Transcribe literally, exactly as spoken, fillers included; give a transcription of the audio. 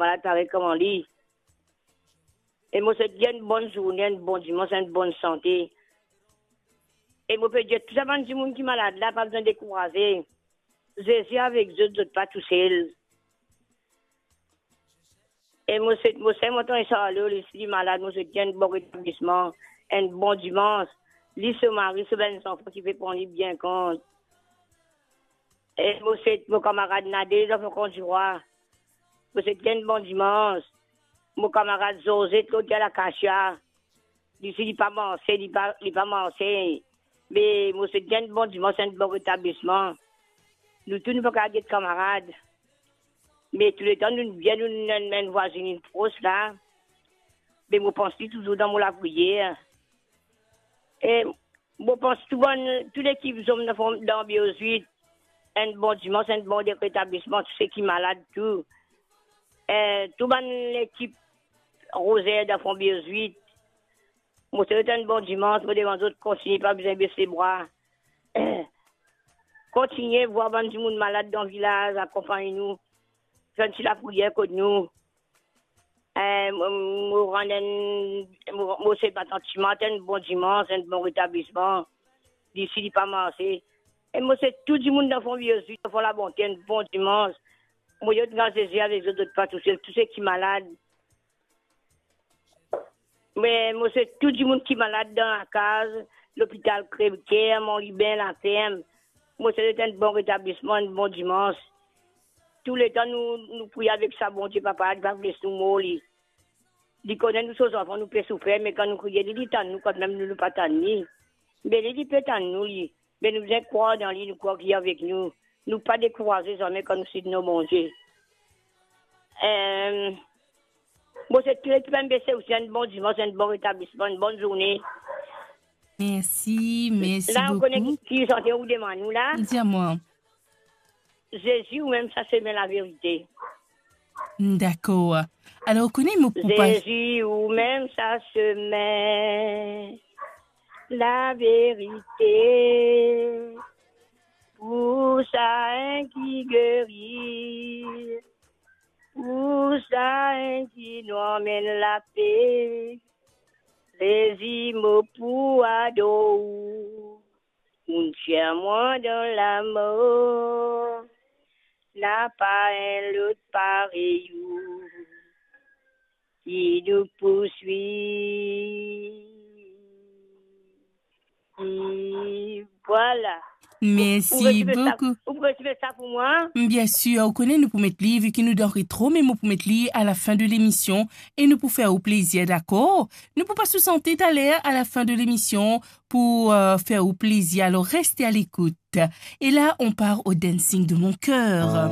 malad parey kouma li. E mo swet li enn bonn zourne, enn bon dimans, enn bonn sante. E mo pe dir tou sa bann dimoun ki malad la, pa bizin dekouraze. Zezi avek zot, zot pa tousel. E mo swet, mo swet mo tann Sarlo, li si li malad, mo swet li enn bon retablisman, enn bon dimans. Li, so mari, so bann zanfan ki pe pran li bien kont. E mo swet mo kamarad Nadel, zanfan Kondrwa. Mo swet li enn bon dimans. Mo kamarad Zozet, kot Lakasia. Li si li pa marse, li pa, li pa marse. Me mo swet li enn bon dimans, enn bon retablisman. Nou tou, nou pa kapav get kamarad. Me touletan nou bien, nou enn, enn vwazinn pros la. Me mo pans li touzour dan mo lapriyer. E mo pans tou bann, tou lekip zom dan fon-, dan Biro Zwit, enn bon dimans, enn bon retablisman, tou seki malad tou. E tou bann lekip Rozer dan fon Biro Zwit, mo swet zot enn bon dimans, mo demann zot kontigne, pa bizin bes lebra. Kontigne vwar bann dimoun malad dan vilaz, akonpagn nou, fer enn ti lapriyer kot nou. Eh, mo, mo rann enn, mo, mo swet bann tanti Martin enn bon dimans, enn bon retablisman. Li si li pa marse. E mo swet tou dimoun dan fon Biro Zwit, dan fon Labonte, enn bon dimans. Mo dir zot, gras Zezi avek zot, zot pa tousel, tou seki malad. Me mo swet tou dimoun ki malad dan lakaz, lopital Crèvecoeur, Mont Lubin, Laferm. Mo swet zot enn bon retablisman, enn bon dimans. Touletan nou, nou priye avek sa Bondie, papa, li pa pou les nou mor li. Li kone nou so zanfan, nou pe soufer, me kan nou kriye li, li tann nou, kanmem nou, nou pa tann li. Me li, li pe tann nou, li. Me nou bizin krwar dan li, nou krwar ki li avek nou. Nou pa dekouraze zame kan nou sit nom Bondie. Em, mo swet tou lekip MBC osi enn bon dimans, enn bon retablisman, enn bonn zourne. Mersi, mersi boukou. La, ou kone ki sante ou demann nou la? Di amwa. Zezi, ou mem sa semin, laverite. Dakor. Alor, ou kone mo pou pa- Zezi, ou mem sa semin, laverite, pou sa enn ki geri, pou sa enn ki nou amenn lape. Zezi, mo pou ador ou. Ou tir mwa dan lamor, napa enn lot parey ou ki nou pou swiv. E vwala. Mersi boukou. Ou, ou pou resevwar sa, ou pou resevwar sa pou mwa? Bien sir, ou kone nou pou met li, vi ki nou dan retro, me mo pou met li a la fin de lemision e nou pou fer ou plezir, dakor? Nou pou pas ou sante taler a la fin de lemision pou, euh, fer ou plezir. Alors, reste à l'écoute. Et là, on part au dancing de mon cœur.